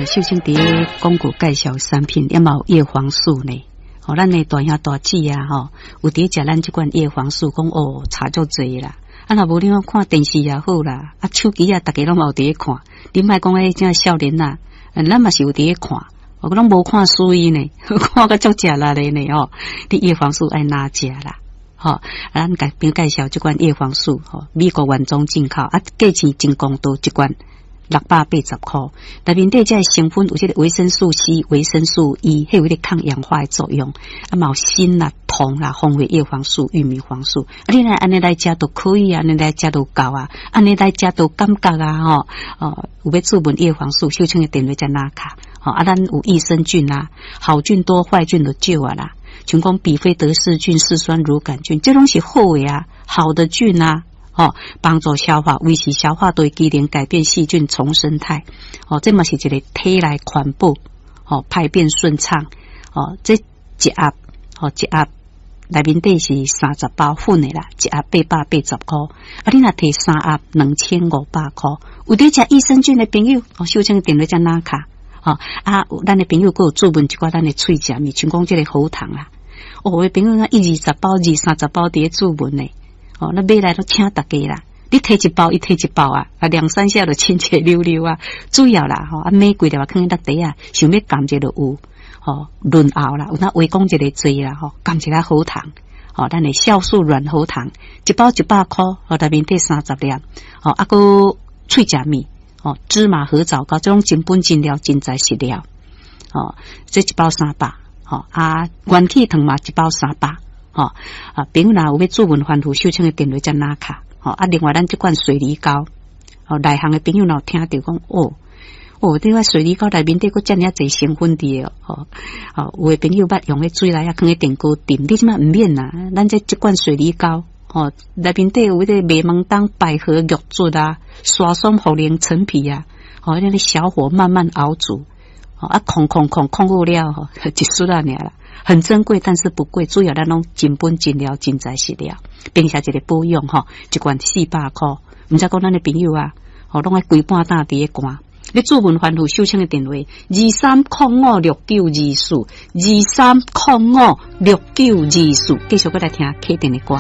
秀清佇咧廣告介紹產品，也嘛有葉黃素呢。吼，咱的大兄大姊啊，吼，有佇食咱這款葉黃素，講哦，差足濟啦。啊，若無你講看電視也好啦，啊，手機啊，逐家攏嘛有佇咧看。你莫講彼這少年啊，咱嘛是有佇咧看，我攏無看輸伊呢，看甲足食力的呢吼。你葉黃素愛哪食啦？吼，啊，咱共朋友介紹這款葉黃素，吼，美國原裝進口，啊，價錢真公道，一罐680箍。內面底這個成分有這個維生素 C、維生素 E，彼有彼個抗氧化的作用。啊，嘛有鋅啦、銅啦、風味葉黃素、玉米黃素。啊，你若按呢來食都可以啊，按呢來食都夠啊，按呢來食都感覺啊，吼哦，有欲注文葉黃素，秀清的電話才拿卡。吼，啊，咱有益生菌啊，好菌多，壞菌就少啊啦。像講比菲德氏菌、嗜酸乳桿菌，這攏是好的啊，好的菌啊。吼，幫助消化，維持消化道機能，改變細菌叢生態。哦，這嘛是一個體內環保，吼，排便順暢。哦，這一盒，吼，一盒內面底是30包粉的啦，一盒880箍。啊，你若提三盒2500箍。有佇食益生菌的朋友，哦，秀清電話才拿卡。吼，啊，咱的朋友閣有注文一寡咱的喙食物，像講這個喉糖啦。哦，有的朋友一二十包、二三十包佇咧注文呢。哦，那買來都請大家啦。你提一包，伊提一包啊，啊兩三下就親切溜溜啊。主要啦，吼啊買幾粒啊，囥佇落袋啊，想欲含一下就有，吼潤喉啦，有哪話講一個濟啦，吼含一下喉糖，吼咱的酵素軟喉糖，一包100箍，吼內面底30粒，吼啊閣喙食物，吼芝麻核棗糕，這種真本真料真材實料，吼這一包300，吼啊元氣糖嘛一包三百。吼啊，朋友若有欲注文番予秀清的電話才拿卡，吼啊，另外咱這款水梨膏，吼內行的朋友若有聽著講，哦哦，這款水梨膏內面底閣遮爾濟成分佇個，吼哦，有的朋友捌用彼水來啊，囥佇電鍋浸，你這馬毋免啦，咱這這款水梨膏，吼內面底有彼個麥門冬、百合、玉竹啊、沙參、茯苓、陳皮啊，吼，按呢小火慢慢熬煮，吼啊，控控控控好了吼，一絲仔爾啦。很珍貴，但是不貴。主要咱攏真本真料、真材實料，並且一個保養吼，一罐400箍。毋知講咱的朋友啊，吼攏愛規半晝佇咧寒。你注文番予秀清的電話：23056924，23056924。繼續閣來聽啟定的歌。